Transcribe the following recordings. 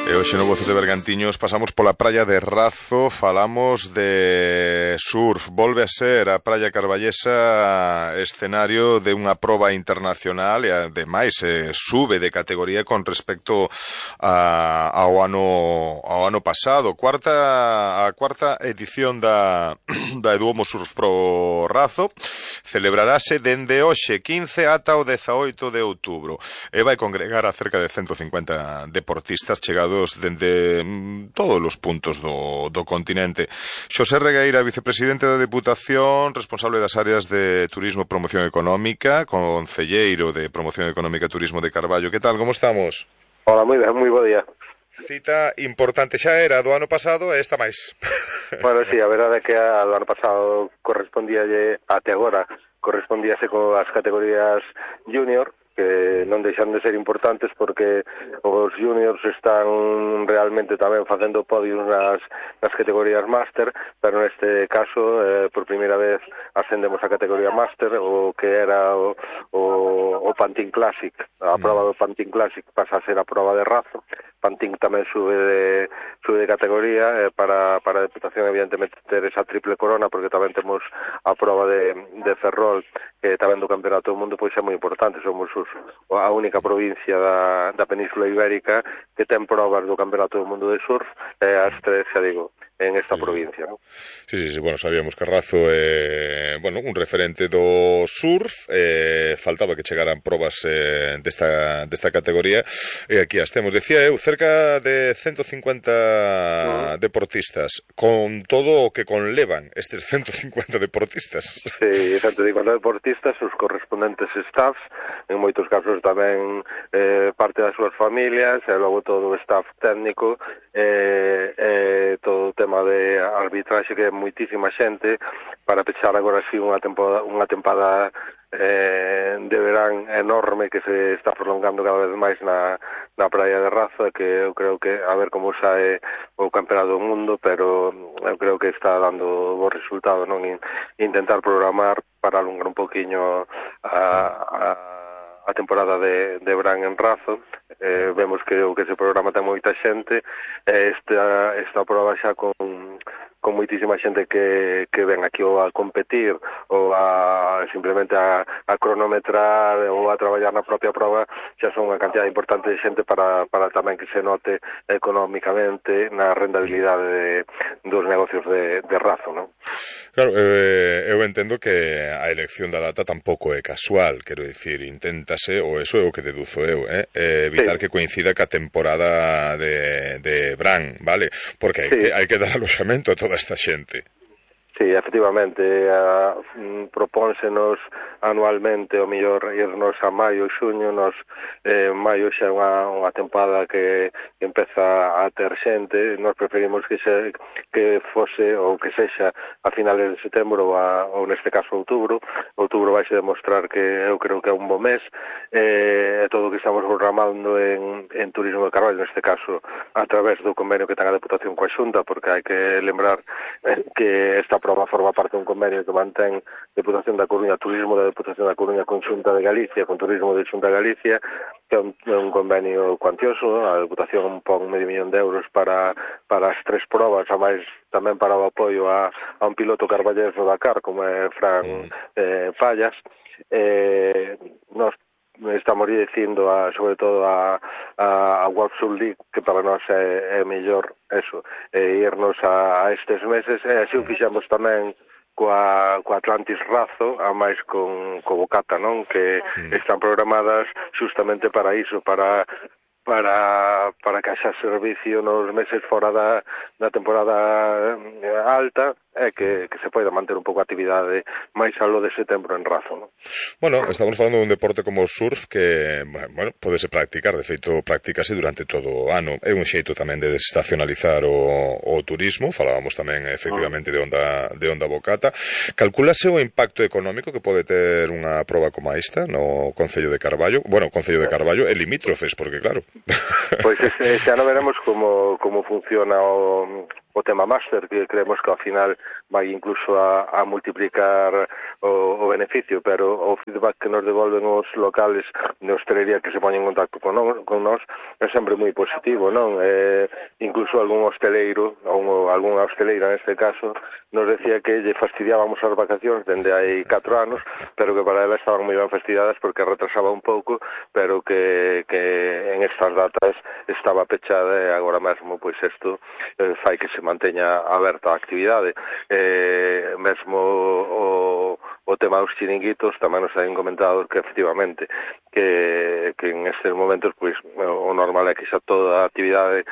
E hoxe no Voces de Bergantiños pasamos pola praia de Razo, falamos de surf. Volve a ser a praia carballesa escenario de unha proba internacional e ademais sube de categoría con respecto ao ano pasado. A cuarta edición da Eduomo Surf Pro Razo celebrarase dende hoxe 15 ata o 18 de outubro e vai congregar a cerca de 150 deportistas chegados dende todos os puntos do continente. Xosé Regueira, vicepresidente da Deputación, responsable das áreas de Turismo e Promoción Económica, concelleiro de Promoción Económica e Turismo de Carballo. Que tal, como estamos? Hola, moi ben, moi bo día. Cita importante xa era do ano pasado e esta máis. Bueno, sí, a verdade é que do ano pasado correspondíalle, até agora, correspondíase coas categorías junior, que non deixan de ser importantes porque os juniors están realmente tamén facendo podios nas categorías máster, pero neste caso, por primeira vez, ascendemos a categoría máster, o que era o Pantin Classic. A prova do Pantin Classic pasa a ser a prova de Razo. Pantin tamén sube de categoría, para a Deputación evidentemente ter esa triple corona, porque tamén temos a prova de Ferrol, que tamén do Campeonato do Mundo pois é moi importante. Somos a única provincia da Península Ibérica que ten probas do Campeonato do Mundo de surf, as tres, xa digo, en esta provincia, ¿no? Sí, bueno, sabíamos que Razo é, un referente do surf, faltaba que chegaran probas desta categoría, e aquí as temos, decía eu, cerca de 150 deportistas, con todo o que conlevan estes 150 deportistas. Sí, 150 deportistas, os correspondentes staffs, en moitos casos tamén parte das súas familias, e logo todo o staff técnico, todo o tema de arbitraxe, que é moitísima xente, para pechar agora sí unha tempada de verán enorme que se está prolongando cada vez máis na praia de Razo, que eu creo que a ver como sae o Campeonato do Mundo, pero eu creo que está dando bo resultado, non? Intentar programar para alongar un poquinho a temporada de verán en Razo. Vemos que o que se programa ten moita xente, esta prova xa con moitísima xente que ven aquí ou a competir ou a simplemente a cronometrar ou a traballar na propia prova, xa son unha cantidad importante de xente para tamén que se note económicamente na rentabilidade dos negocios de Razo, non? Claro, eu entendo que a elección da data tampouco é casual, quero dicir, inténtase, ou eso é o que deduzo eu, evitar que coincida ca temporada de verán, vale? Porque hai que dar aloxamento a toda esta xente. Sí, efectivamente, propónsenos anualmente o mellor irnos a maio, xuño, maio xa é unha tempada que empeza a ter xente. Nos preferimos que fose ou que sexa a finales de setembro ou neste caso outubro. Outubro vai se demostrar que eu creo que é un bo mes, todo o que estamos programando en Turismo de Carballo, neste caso a través do convenio que ten a Deputación coa Xunta, porque hai que lembrar que esta prova forma parte dun convenio que mantén Deputación da Coruña, Turismo da Deputación da Coruña con Xunta de Galicia, con Turismo de Xunta de Galicia, que é un convenio cuantioso. A Deputación pon €500,000 para as tres probas, a máis tamén para o apoio a un piloto carballés do Dakar, como é Fran Fallas. Nos estamos dicindo sobre todo a World Surf League, que para nós é mellor eso, irnos a estes meses, e así o fixemos tamén coa Atlantis Razo, a máis con Bocata, non? Que están programadas justamente para iso, para que haxa servicio nos meses fora da temporada alta, e que se poida manter un pouco a actividade máis aló de setembro en Razo, non? Bueno, estamos falando dun deporte como o surf que, podese practicar, de feito, practícase durante todo o ano. É un xeito tamén de desestacionalizar o turismo, falábamos tamén, efectivamente, de onda Bocata. Calculase o impacto económico que pode ter unha proba como esta no Concello de Carballo? Bueno, o Concello de Carballo é limítrofes, porque claro... Pois xa non veremos como funciona o tema máster, que creemos que ao final vai incluso a multiplicar o beneficio, pero o feedback que nos devolven os locales de hostelería que se poñen en contacto con nós é sempre moi positivo, non? Incluso algún hosteleiro, ou algunha hosteleira neste caso, nos decía que lle fastidiábamos as vacacións dende hai 4 anos, pero que para ela estaban moi ben fastidiadas porque retrasaba un pouco, pero que en estas datas estaba pechada e agora mesmo pois isto fai que se manteña aberta a actividade. Mesmo o tema dos chiringuitos tamén nos han comentado que efectivamente que en estes momentos pois o normal é que xa toda a actividade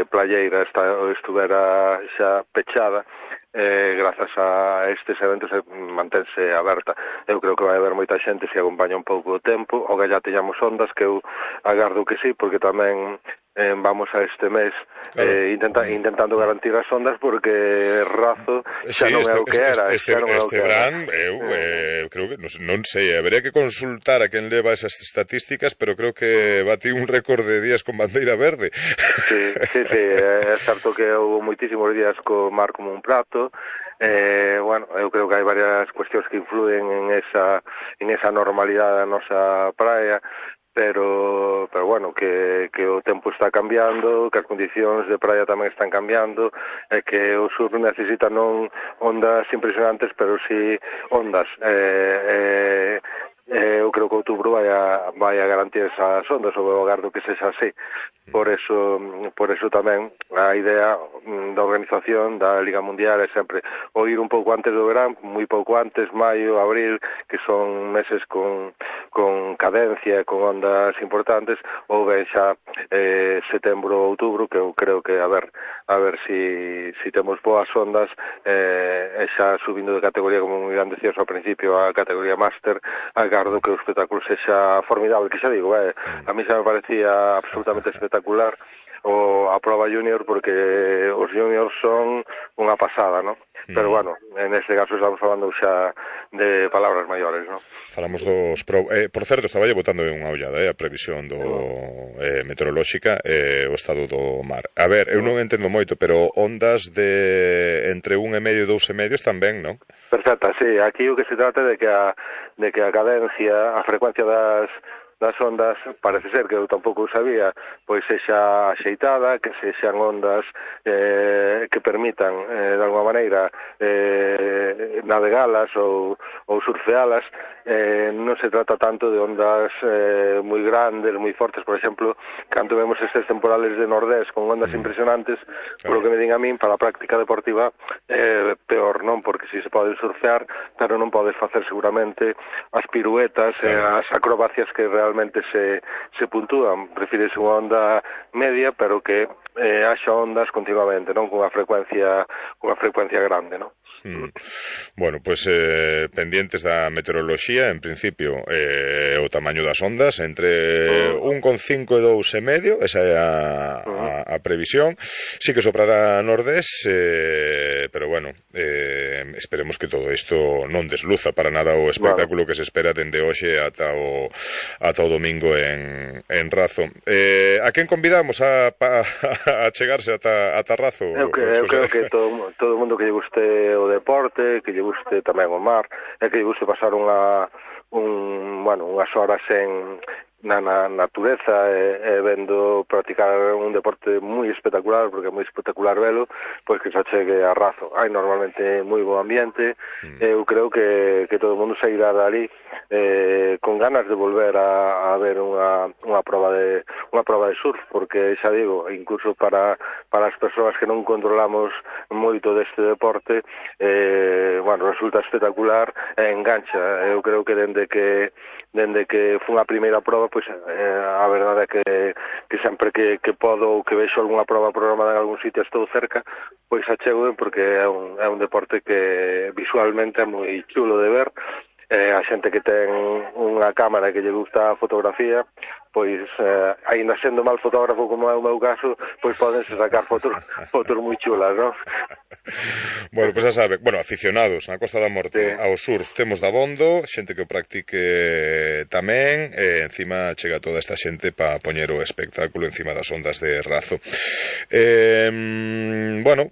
playeira estuvera xa pechada. Grazas a estes eventos mantense aberta. Eu creo que vai haber moita xente se acompaña un pouco o tempo, o que ya teñamos ondas, que eu agardo que sí, porque tamén vamos a este mes intentando garantir as ondas, porque Razo xa non é o que era. Este verán, eu creo que, non sei, habería que consultar a quen leva esas estatísticas, pero creo que bati un récord de días con bandeira verde. Sí, é certo que houve moitísimos días co mar como un prato. Bueno, eu creo que hai varias cuestións que influen en esa normalidade da nosa praia, pero bueno, que o tempo está cambiando, que as condicións de praia tamén están cambiando, e que o sur necesita non ondas impresionantes, pero sí ondas. Eu creo que outubro vai a garantir esas ondas, ou eu agardo que sexa así. Por eso tamén a idea da organización da Liga Mundial é sempre o ir un pouco antes do verán, moi pouco antes, maio, abril, que son meses con cadencia, con ondas importantes, ou ben xa setembro ou outubro, que eu creo que a ver si temos boas ondas, e xa subindo de categoría, como me decías ao principio, a categoría máster, agardo que o espectáculo sexa formidable, que xa digo, a mí xa me parecía absolutamente espectacular a prova junior, porque os juniors son unha pasada, non? Pero bueno, en este caso estamos falando xa de palabras maiores, non? Falamos dos por certo, estaba botando unha ollada a previsión do meteorolóxica, o estado do mar. A ver, eu non entendo moito, pero ondas de entre 1,5 e 2,5 están ben, non? Perfecta, sí. Aquí o que se trata é de que a cadencia, a frecuencia das ondas, parece ser que eu tampouco o sabía, pois sexa axeitada, que sexan ondas que permitan de alguma maneira navegalas ou surfealas. Non se trata tanto de ondas moi grandes, moi fortes. Por exemplo, cando vemos estes temporales de Nordés con ondas impresionantes, por lo que me din a min, para a práctica deportiva peor, non? Porque si se pode surfear, pero non podes facer seguramente as piruetas, as acrobacias que realmente se puntúan. Prefírese unha onda media, pero que haxa ondas continuamente, non? Con unha frecuencia grande, non? Bueno, pues pendientes da meteoroloxía, en principio o tamaño das ondas entre 1,5 e 2,5, esa é a previsión. Sí que soprará nordés, pero bueno, esperemos que todo isto non desluza para nada o espectáculo que se espera dende hoxe ata o domingo en Razo. A quen convidamos a chegarse ata Razo? Eu creo que todo o mundo que lle guste o deporte, que lle guste tamén o mar, e que lle guste pasar unhas horas na natureza e vendo practicar un deporte moi espectacular, porque é moi espectacular velo, pois que se chegue a Razo. Hai normalmente moi bo ambiente. Eu creo que todo o mundo sairá dali con ganas de volver a ver unha prova de surf, porque xa digo, incluso para as persoas que non controlamos moito deste deporte, resulta espectacular e engancha. Eu creo que dende que foi a primeira prova, pois a verdade é que sempre que podo ou que vexo algunha prova programada en algún sitio, estou cerca, pois achego, porque é un deporte que visualmente é moi chulo de ver. A xente que ten unha cámara que lle gusta a fotografía, pois aínda sendo mal fotógrafo como é o meu caso, pois podense sacar fotos moi chulas, non? Bueno, pois xa sabe, aficionados na Costa da Morte ao surf temos dabondo, xente que o practique tamén, e encima chega toda esta xente para poñer o espectáculo encima das ondas de Razo.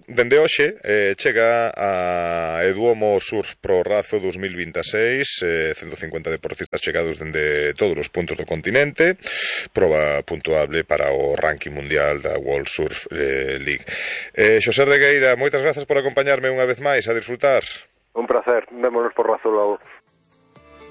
Dende hoxe chega a Eduomo Surf Pro Razo 2026, 150 deportistas chegados dende todos os puntos do continente, proba puntuable para o ranking mundial da World Surf League. Xosé Regueira, moitas grazas por acompañarme unha vez máis a disfrutar. Un placer, vémonos por Razo logo.